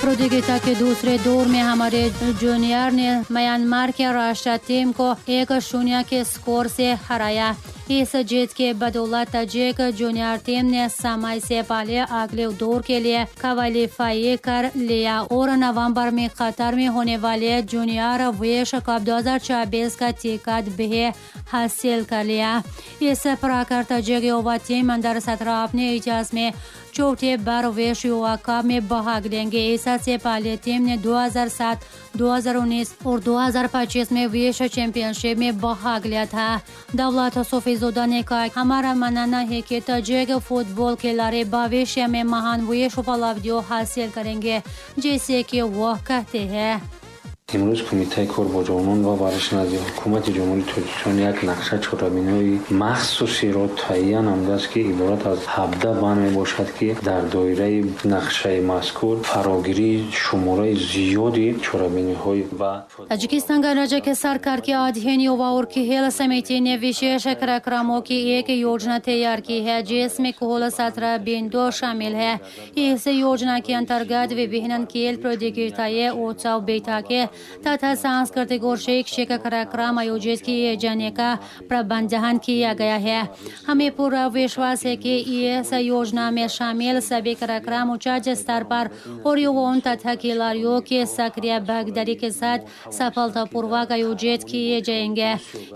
प्रतियोगिता के दूसरे दौर में हमारे जूनियर ने म्यांमार के राष्ट्रीय टीम को 1-0 के स्कोर से हराया। इस जीत के बदौलत Tajik junior team ने समय से पहले अगले दौर के लिए क्वालीफाई कर लिया और नवंबर में कतर में होने वाले जूनियर विश्व कप 2026 का टिकट भी हासिल कर लिया। इस प्रकार ताजिक युवा टीम अंडर 17 अपने इतिहास में चौथे बार विश्व युवा कप में भाग लेंगे। इससे पहले टीम ने 2007, 2019 और 2025 में विश्व चैंपियनशिप में भाग लिया था। दौलत सोफीज़ोदा ने कहा, हमारा मानना है कि ताजिक फुटबॉल खिलाड़ी भविष्य में महान विश्व उपलब्धियों हासिल करेंगे, जैसे कि वो कहते हैं। Имрӯз Кумитаи кор бо ҷавонон ва варзиш назди Ҳукумати Ҷумҳурии Тоҷикистон як нақша чорабиниҳои махсусиро таҳия намудааст, ки иборат аз 17 банд мебошад, ки дар доираи нақшаи мазкур фарогирии шумораи зиёди чорабиниҳои ва Таджикистан गणराज्य के सरकार के अधीन युवा और खेल समिति ने विशेष कार्यक्रमों की एक योजना तैयार की है, जिसमें कुल 17 बिंदु शामिल है। इस योजना के अंतर्गत विभिन्न खेल प्रतियोगिताएं, उत्सव, बैठकें तथा सांस्कृतिक और शैक्षिक कार्यक्रम आयोजित किए जाने का प्रबंधन किया गया है। हमें पूरा विश्वास है कि इस योजना में शामिल सभी कार्यक्रम उच्च स्तर पर और युवाओं तथा खिलाड़ियों के सक्रिय भागीदारी के साथ सफलतापूर्वक आयोजित किए जाएंगे।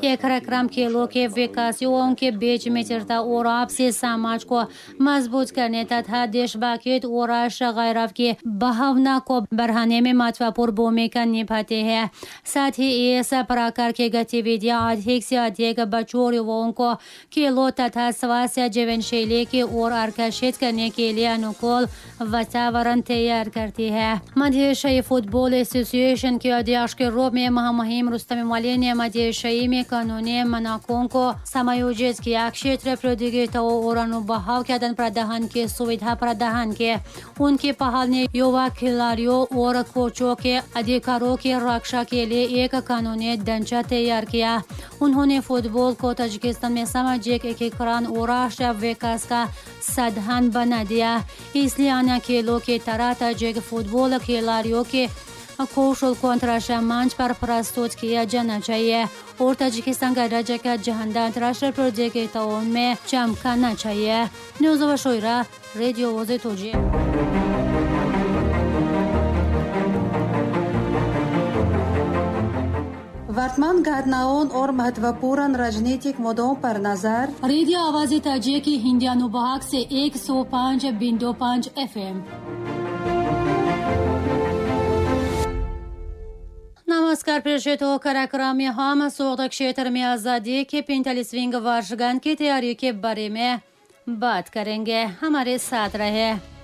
ये कार्यक्रम खेलों के विकास, युवाओं के बीच मित्रता और आपसी समाज को मजबूत करने तथा देशभक्ति और राष्ट्र गौरव की भावना को बढ़ाने में महत्वपूर्ण भूमिका निभाते हैं। साथ ही इस प्रकार की गतिविधियां अधिक से अधिक बच्चों और युवाओं को खेलों तथा स्वास्थ्य जीवन शैली की ओर आकर्षित करने के लिए अनुकूल वातावरण तैयार करती है। मध्य एशियाई फुटबॉल एसोसिएशन के अध्यक्ष के रूप में महामहिम रुस्तम वाली ने मध्य एशियाई में कानूनी मानकों को समायोजित किया, क्षेत्र प्रतियोगिताओं और अनुभव के आदान प्रदान की सुविधा प्रदान की। उनकी पहल ने युवा खिलाड़ियों और कोचों के अधिकारों की रक्षा के लिए एक कानूनी ढांचा तैयार किया। उन्होंने फुटबॉल को ताजिकिस्तान में सामाजिक एकीकरण और राष्ट्रीय विकास का साधन बना दिया। इसलिए अन्य खेलों की तरह ताजिक फुटबॉल खिलाड़ियों के कौशल को अंतर्राष्ट्रीय मंच पर प्रस्तुत किया जाना चाहिए और ताजिकिस्तान का राज्य का झंडा अंतर्राष्ट्रीय प्रतियोगिताओं में चमकाना चाहिए। न्यूज़ शोरा, रेडियो ओजे तोजी। वर्तमान घटनाओं और महत्वपूर्ण राजनीतिक मुद्दों पर नजर। रेडियो आवाज़ ताजिक की हिंदी अनुभाग से 105.5 FM। नमस्कार प्रेषित हो कार्यक्रम में हम सोगद क्षेत्र में आज़ादी के 45वीं वर्षगांठ की तैयारी के बारे में बात करेंगे। हमारे साथ रहे।